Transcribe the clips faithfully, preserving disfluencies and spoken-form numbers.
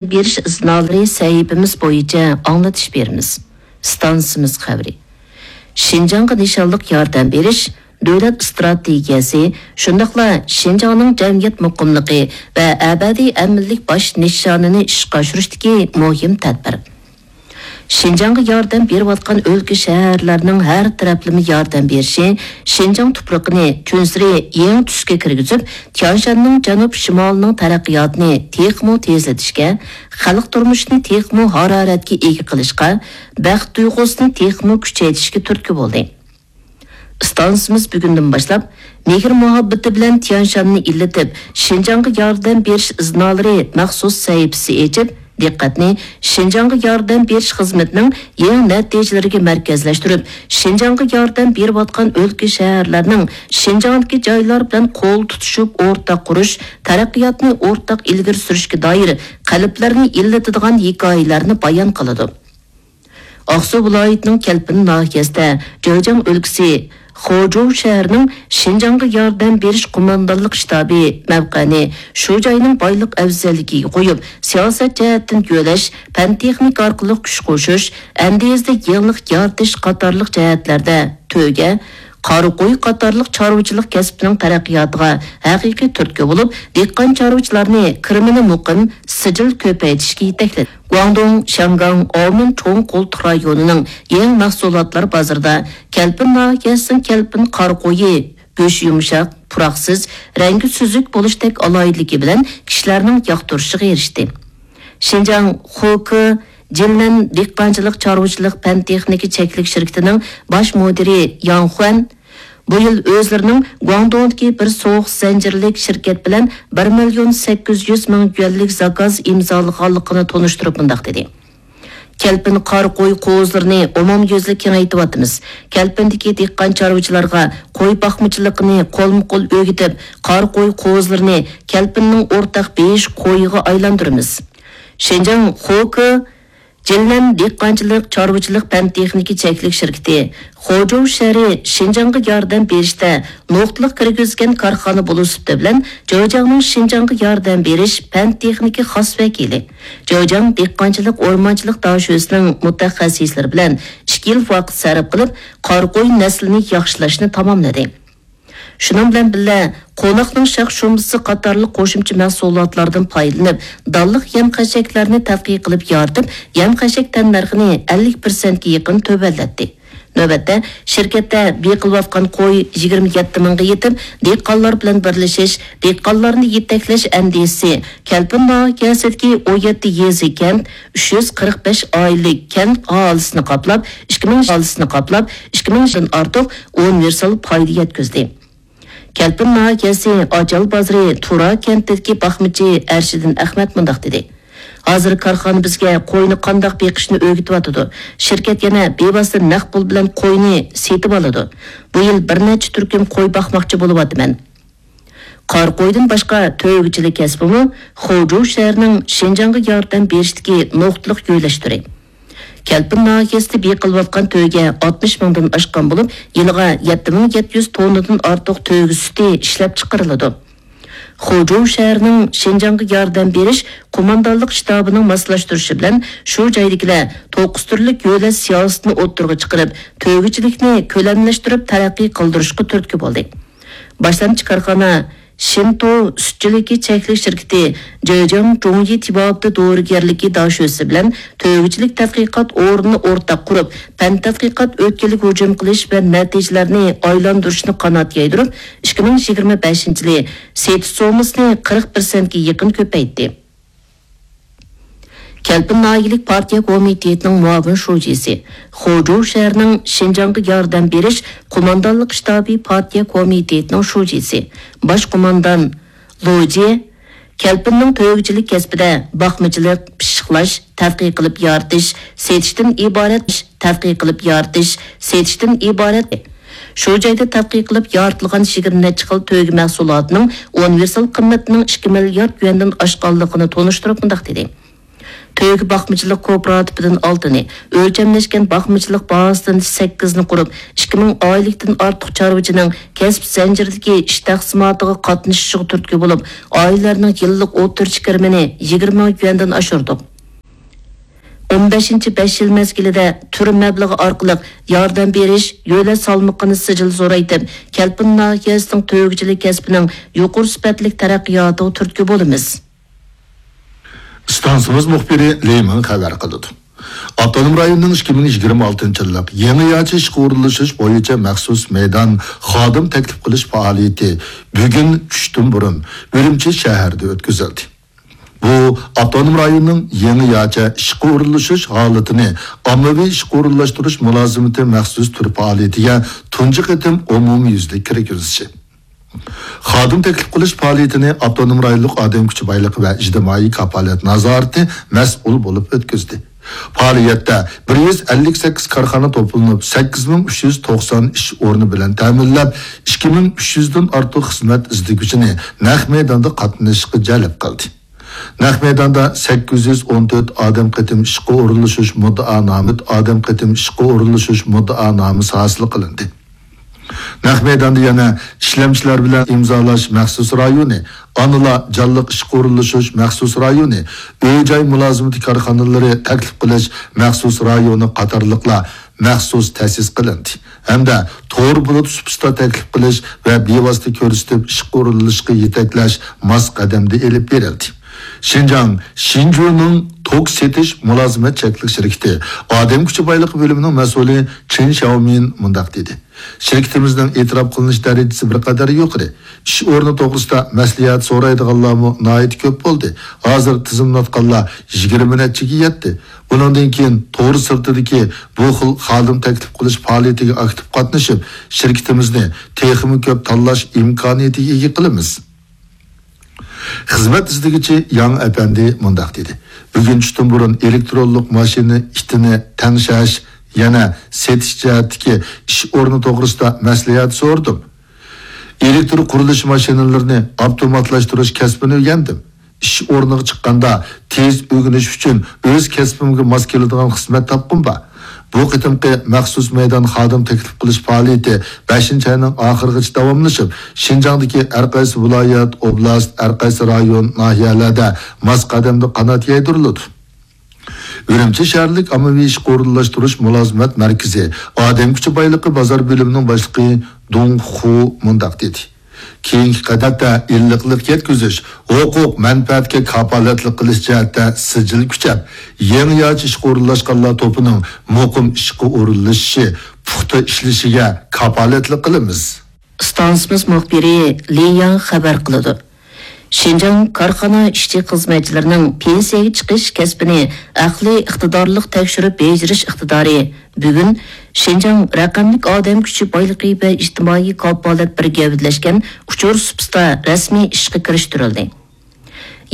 بېرىش ئىزنالىرى سەھىپىمىز بويىچە ئاڭلىتىش بېرىمىز. ئىستانسىمىز خەۋىرى. شىنجاڭغا نىشانلىق ياردەم بېرىش دۆلەت ئىستراتېگىيەسى، شۇنداقلا شىنجاڭنىڭ جەمئىيەت مۇقىملىقى ۋە ئەبەدىي ئەمىنلىك باش نىشانىنى ئىشقا ئاشۇرۇشتىكى مۇھىم تەدبىر. شىنجاڭغا ياردەم بېرىۋاتقان ئۆلكە، شەھەرلەرنىڭ ھەر تەرەپلىمە ياردەم بېرىشى شىنجاڭ تۇپرىقىنى كۈنسېرى يېڭى تۈسكە كىرگۈزۈپ، تيەنشاننىڭ جەنۇب شىمالىنىڭ تەرەققىياتىنى تېخىمۇ تېزلىتىشكە، خەلق تۇرمۇشىنى تېخىمۇ ھارارەتكە ئىگە قىلىشقا، بەخت تۇيغۇسىنى تېخىمۇ كۈچەيتىشكە تۈرتكە بولدى. ئىستانسىمىز بۈگۈندىن باشلاپ، مېھىر مۇھەببىتى بىلەن تيەنشاننى ئىللىتىپ، شىنجاڭغا ياردەم بېرىش ئىزنالىرى مەخسۇس سەھىپىسى ئېچىپ، دىققەتنى شىنجاڭغا ياردەم بېرىش خىزمىتىنىڭ يېڭى نەتىجىلىرىگە مەركەزلەشتۈرۈپ، شىنجاڭغا ياردەم بېرىۋاتقان ئۆلكە، شەھەرلەرنىڭ شىنجاڭدىكى جايلار بىلەن قول تۇتۇشۇپ ئورتاق قۇرۇش، تەرەققىياتنى ئورتاق ئىلگىرى سۈرۈشكە دائىر قەلبلەرنى ئىللىتىدىغان ھېكايىلەرنى بايان قىلىدۇ. ئاقسۇ ۋىلايىتىنىڭ كەلپىن ناھىيەسىدە جېجياڭ ئۆلكىسى خۇجۇ شەھىرىنىڭ شىنجاڭغا ياردەم بېرىش قوماندانلىق شتابى مەۋقەنى شۇ جاينىڭ بايلىق ئەۋزەللىكىگە قويۇپ، سىياسەت جەھەتتىن يۆلەش، پەن-تېخنىكا ئارقىلىق كۈچ قوشۇش، ئەندىزىدە يېڭىلىق يارىتىش قاتارلىق جەھەتلەردە تۆگە، قارا قوي قاتارلىق چارۋىچىلىق كەسپىنىڭ تەرەققىياتىغا ھەقىقىي تۈرتكە بولۇپ، دېھقان چارۋىچىلارنى كىرىمىنى مۇقىم، سىجىل كۆپەيتىشكە يېتەكلىدى. گۇاڭدۇڭ، شياڭگاڭ، ئاۋمېن چوڭ قۇل رايونىنىڭ يېڭى مەھسۇلاتلار بازىرىدا كەلپىن ناھىيەسىنىڭ كەلپىن قارا قويى، گۆشى يۇمشاق، پۇراقسىز، رەڭگى سۈزۈك بولۇشتەك ئالاھىدىلىكى بىلەن كىشىلەرنىڭ ياقتۇرۇشىغا ئېرىشتى. شىنجاڭ خوكې جىنلەن دېھقانچىلىق چارۋىچىلىق پەن تېخنىكا چەكلىك شىركىتىنىڭ باش مۇدىرى ياڭ خۇەن بۇ يىل ئۆزلىرىنىڭ گۇاڭدۇڭدىكى بىر سوغۇق زەنجىرلىك شىركەت بىلەن بىر مىليون سەككىز يۈز مىڭ يۈەنلىك زاكاز ئىمزالىغانلىقىنى تونۇشتۇرۇپ مۇنداق دېدى: كەلپىن قارا قوي قوزىلىرىنى ئومۇميۈزلۈك كېڭەيتىۋاتىمىز. كەلپىندىكى دېھقان چارۋىچىلارغا قوي باقمىچىلىقىنى قولمۇقول ئۆگىتىپ، قارا قوي قوزىلىرىنى كەلپىننىڭ ئورتاق بېيىش قويىغا ئايلاندۇرىمىز. شىنجاڭ خوكې جىنلەن دېھقانچىلىق چارۋىچىلىق پەن تېخنىكا چەكلىك شىركىتى خۇجۇ شەھىرى شىنجاڭغا ياردەم بېرىشتە نۇقتىلىق كىرگۈزگەن كارخانا بولۇش سۈپىتى بىلەن، جېجياڭنىڭ شىنجاڭغا ياردەم بېرىش پەن تېخنىكا خاس ۋەكىلى، جېجياڭ دېھقانچىلىق ئورمانچىلىق داشۆسىنىڭ مۇتەخەسسىسلىرى بىلەن ئىككى يىل ۋاقىت سەرپ قىلىپ، قارا قوي نەسلىنى ياخشىلاشنى تاماملىدى. شۇنىڭ بىلەن بىللە، قوناقنىڭ شاخ-شۇمبىسى قاتارلىق قوشۇمچە مەھسۇلاتلاردىن پايدىلىنىپ، دانلىق يەم-خەشەكلەرنى تەتقىق قىلىپ يارىتىپ، يەم-خەشەك تەننەرخىنى ئەللىك پىرسەنتكە يېقىن تۆۋەنلەتتى. نۆۋەتتە، شىركەتتە بېقىلىۋاتقان قوي يىگىرمە يەتتە مىڭغا يېتىپ، دېھقانلار بىلەن بىرلىشىش، دېھقانلارنى يېتەكلەش ئەندىزىسى كەلپىن ناھىيەسىدىكى ئون يەتتە يېزا، كەنت، ئۈچ يۈز قىرىق بەش ئائىلىلىك كەنت ئاھالىسىنى قاپلاپ، ئىككى مىڭ ئاھالىسىنى قاپلاپ، ئىككى مىڭدىن ئارتۇق ئۇنىۋېرسال پايدا يەتكۈزدى. كەلپىن ناھىيەسى ئاچال بازىرى تۇرا كەنتىدىكى باقمىچى ئەرشىدىن ئەخمەت مۇنداق دېدى: ھازىر كارخانا بىزگە قوينى قانداق بېقىشنى ئۆگىتىۋاتىدۇ. شىركەت يەنە بىۋاسىتە نەق پۇل بىلەن قوينى سېتىۋالىدۇ. بۇ يىل بىر نەچچە تۈركۈم قوي باقماقچى بولۇۋاتىمەن. قارا قويدىن باشقا تۆگىچىلىك كەسپىمۇ خۇجۇ شەھىرىنىڭ شىنجاڭغا ياردەم بېرىشتىكى نۇقتىلىق يۆلەش تۈرى. كەلپىن ناھىيەسىدە بېقىلىۋاتقان تۆگە ئاتمىش مىڭدىن ئاشقان بولۇپ، يىلىغا يەتتە مىڭ يەتتە يۈز توننىدىن ئارتۇق تۆگە سۈتى ئىشلەپ چىقىرىلىدۇ. خۇجۇ شەھىرىنىڭ شىنجاڭغا ياردەم بېرىش قوماندانلىق شتابىنىڭ ماسلاشتۇرۇشى بىلەن، شۇ جايدىكىلەر توققۇز تۈرلۈك يۆلەش سىياسىتىنى ئوتتۇرىغا چىقىرىپ، تۆگىچىلىكنى كۆلەملەشتۈرۈپ تەرەققىي قىلدۇرۇشقا تۈرتكە بولدى. باشلامچى كارخانا شىنتو سۈتچىلىكى چەكلىك شىركىتى جېجياڭ جۇڭيى تېبابىتى دورىگەرلىكى داشۆسى بىلەن تۆگىچىلىك تەتقىقات ئورنىنى ئورتاق قۇرۇپ، پەن تەتقىقات ئۆتكىلىگە ھۇجۇم قىلىش ۋە نەتىجىلەرنى ئايلاندۇرۇشنى قانات يايدۇرۇپ، ئىككى مىڭ يىگىرمە بەشىنچى يىلى سېتىش سوممىسىنى قىرىق پىرسەنتكە يېقىن كۆپەيتتى. كەلپىن ناھىيەلىك پارتىيە كومىتېتىنىڭ مۇئاۋىن شۇجىسى، خۇجۇ شەھىرىنىڭ شىنجاڭغا ياردەم بېرىش قوماندانلىق شتابى پارتىيە كومىتېتىنىڭ شۇجىسى، باش قوماندان لۇجى، كەلپىننىڭ تۆگىچىلىك كەسپىدە باقمىچىلىق، پىششىقلاش، تەتقىق قىلىپ يارىتىش، سېتىشتىن ئىبارەت، تەتقىق قىلىپ يارىتىش، سېتىشتىن ئىبارەت. شۇ جايدا تەتقىق قىلىپ يارىتىلغان يىگىرمە نەچچە خىل تۆگە مەھسۇلاتىنىڭ ئۇنىۋېرسال قىممىتىنىڭ ئىككى مىليارد يۈەندىن ئاشقانلىقىنى تونۇشتۇرۇپ مۇنداق دېدى: تۆگە باقمىچىلىق كوپىراتىپىدىن ئالتىنى، ئۆلچەملەشكەن باقمىچىلىق بازىسىدىن سەككىزنى قۇرۇپ، ئىككى مىڭ ئائىلىلىكتىن ئارتۇق چارۋىچىنىڭ كەسىپ زەنجىرىدىكى ئىش تەقسىماتىغا قاتنىشىشىغا تۈرتكە بولۇپ، ئائىلىلەرنىڭ يىللىق ئوتتۇرىچە كىرىمىنى يىگىرمە مىڭ يۈەندىن ئاشۇردۇق. ئون بەشىنچى بەش يىل مەزگىلىدە تۈر مەبلىغى ئارقىلىق ياردەم بېرىش، يۆلەش سالمىقىنى سىجىل زورايتىپ، كەلپىن ناھىيەسىنىڭ تۆگىچىلىك كەسپىنىڭ يۇقىرى سۈپەتلىك تەرەققىياتىغا تۈرتكە بولىمىز. ئىستانسىمىز مۇخبىرى لى مىڭ خەۋەر قىلىدۇ. ئاپتونوم رايوننىڭ ئىككى مىڭ يىگىرمە ئالتىنچى يىللىق يېڭىچە ئىشقا ئورۇنلىشىش بويىچە مەخسۇس مەيدان خادىم تەكلىپ قىلىش پائالىيىتى بۈگۈن چۈشتىن بۇرۇن ئۈرۈمچى شەھىرىدە ئۆتكۈزۈلدى. بۇ ئاپتونوم رايوننىڭ يېڭىچە ئىشقا ئورۇنلىشىش ھالىتىنى ئاممىۋى ئىشقا ئورۇنلاشتۇرۇش مۇلازىمىتى مەخسۇس تۈر پائالىيىتىگە تۇنجى قېتىم ئومۇميۈزلۈك كىرگۈزۈشى. خادىم تەكلىپ قىلىش پائالىيىتىنى ئاپتونوم رايونلۇق ئادەم كۈچى بايلىقى ۋە ئىجتىمائىي كاپالەت نازارىتى مەسئۇل بولۇپ ئۆتكۈزدى. پائالىيەتتە بىر يۈز ئەللىك سەككىز كارخانا توپلىنىپ، سەككىز مىڭ ئۈچ يۈز توقسان ئىش ئورنى بىلەن تەمىنلەپ، ئىككى مىڭ ئۈچ يۈزدىن ئارتۇق خىزمەت ئىزدىگۈچىنى نەق مەيداندا قاتنىشىشقا جەلپ قىلدى. نەق مەيداندا سەككىز يۈز ئون تۆت ئادەم قېتىم ئىشقا ئورۇنلىشىش مۇددىئانامە، ئادەم قېتىم ئىشقا ئورۇنلىشىش مۇددىئانامىسى ھاسىل قىلىندى. نەق مەيداندا يەنە ئىشلەمچىلەر بىلەن ئىمزالاش مەخسۇس رايونى، ئانىلار جانلىق ئىشقا ئورۇنلىشىش مەخسۇس رايونى، ئۆي-جاي مۇلازىمىتى كارخانىلىرى تەكلىپ قىلىش مەخسۇس رايونى قاتارلىقلار مەخسۇس تەسىس قىلىندى ھەمدە تور بۇلۇت سۇپىسىدا تەكلىپ قىلىش ۋە بىۋاسىتە كۆرسىتىپ ئىشقا ئورۇنلىشىشقا يېتەكلەش ماس قەدەمدە ئېلىپ بېرىلدى. شىنجاڭ شىنجۇنىڭ توك سېتىش مۇلازىمەت چەكلىك شىركىتى ئادەم كۈچى بايلىقى بۆلۈمىنىڭ مەسئۇلى چېن شياۋمىن مۇنداق دېدى. شىركىتىمىزنىڭ ئېتىراپ قىلىنىش دەرىجىسى بىر قەدەر يۇقىرى. ئىش ئورنى توغرىسىدا مەسلىھەت سورايدىغانلارمۇ ناھايىتى كۆپ بولدى. ھازىر تىزىملاتقانلار يىگىرمە نەچچىگە يەتتى. بۇنىڭدىن كېيىن تور سىرتىدىكى بۇ خىل خادىم تەكلىپ قىلىش پائالىيىتىگە ئاكتىپ قاتنىشىپ، شىركىتىمىزنى تېخىمۇ كۆپ تاللاش ئىمكانىيىتىگە ئىگە قىلىمىز. خىزمەت ئىزدىگۈچى ياڭ ئەپەندى مۇنداق دېدى، بۈگۈن چۈشتىن بۇرۇن ئېلېكترونلۇق ماشىنا ئىتىنى تەڭشەش، يەنە سېتىش جەھەتتىكى ئىش ئورنى توغرىسىدا مەسلىھەت سورىدىم. ئېلېكتر قۇرۇلۇش ماشىنىلىرىنى ئاپتوماتلاشتۇرۇش كەسپىنى ئۆگەندىم. ئىش ئورنىغا چىققاندا تېز ئۆگىنىش ئۈچۈن ئۆز كەسپىمگە ماس كېلىدىغان خىزمەت تاپقۇم بار. بۇ قېتىمقى مەخسۇس مەيدان خادىم تەكلىپ قىلىش پائالىيىتى بەشىنچى ئاينىڭ ئاخىرىغىچە داۋاملىشىپ، شىنجاڭدىكى ھەر قايسى ۋىلايەت، ئوبلاست، ھەر قايسى رايون، ناھىيەلەردە ماس قەدەمدە قانات يايدۇرۇلىدۇ. ئۈرۈمچى شەھەرلىك ئاممىۋى ئىشقا ئورۇنلاشتۇرۇش مۇلازىمەت مەركىزى ئادەم كۈچى بايلىقى بازار بۆلۈمىنىڭ باشلىقى دۇڭ خۇ مۇنداق دېدى. كېيىنكى قەدەمدە ئىللىقلىق يەتكۈزۈش، ھوقۇق مەنپەئەتكە كاپالەتلىك قىلىش جەھەتتە سىجىل كۈچەپ، يېڭىچە ئىشقا ئورۇنلاشقانلار توپىنىڭ مۇقىم ئىشقا ئورۇنلىشىشى، پۇختا ئىشلىشىگە كاپالەتلىك قىلىمىز. ئىستانسىمىز مۇخبىرى لى ياڭ خەۋەر قىلىدۇ. شىنجاڭ كارخانا ئىشچى-خىزمەتچىلىرىنىڭ پېنسىيەگە چىقىش كەسپىنى ئەقلىي ئىقتىدارلىق تەكشۈرۈپ بېجىرىش ئىقتىدارى بۈگۈن شىنجاڭ رەقەملىك ئادەم كۈچى بايلىقى ۋە ئىجتىمائىي كاپالەت بىر گەۋدىلەشكەن ئۇچۇر سۇپىسىدا رەسمىي ئىشقا كىرىشتۈرۈلدى.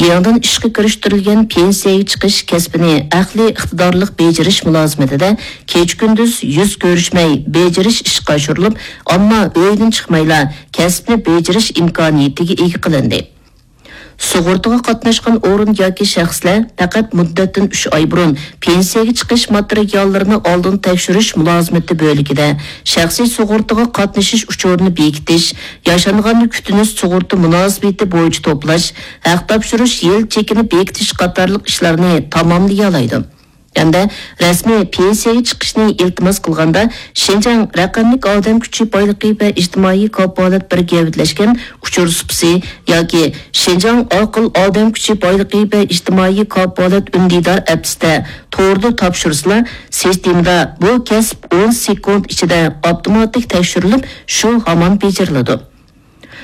يېڭىدىن ئىشقا كىرىشتۈرۈلگەن پېنسىيەگە چىقىش كەسپىنى ئەقلىي ئىقتىدارلىق بېجىرىش مۇلازىمىتىدە كېچە-كۈندۈز يۈز كۆرۈشمەي بېجىرىش ئىشقا ئاشۇرۇلۇپ، ئامما ئۆيىدىن چىقمايلا كەسىپنى بېجىرىش ئىمكانىيىتىگە ئىگە قىلىندى. سۇغۇرتىغا قاتناشقان ئورۇن ياكى شەخسلەر پەقەت مۇددەتتىن ئۈچ ئاي بۇرۇن پېنسىيەگە چىقىش ماتېرىياللىرىنى ئالدىن تەكشۈرۈش مۇلازىمىتى بۆلىكىدە شەخسىي سۇغۇرتىغا قاتنىشىش ئۇچۇرىنى بېكىتىش، ياشانغاننى كۈتۈنۈش سۇغۇرتا مۇناسىۋىتى بويىچە توپلاش، ھەق تاپشۇرۇش يىل چېكىنى بېكىتىش قاتارلىق ئىشلارنى تاماملىيالايدۇ. ھەمدە رەسمىي پېنسىيەگە چىقىشنى ئىلتىماس قىلغاندا، شىنجاڭ رەقەملىك ئادەم كۈچى بايلىقى ۋە ئىجتىمائىي كاپالەت بىر گەۋدىلەشكەن ئۇچۇر سۇپىسى ياكى شىنجاڭ ئاقىل ئادەم كۈچى بايلىقى ۋە ئىجتىمائىي كاپالەت ئۈندىدار ئەپسىدە توردا تاپشۇرسىلا، سىستېمىدا بۇ كەسىپ ئون سېكۇنت ئىچىدە ئاپتوماتىك تەكشۈرۈلۈپ، شۇ ھامان بېجىرىلىدۇ.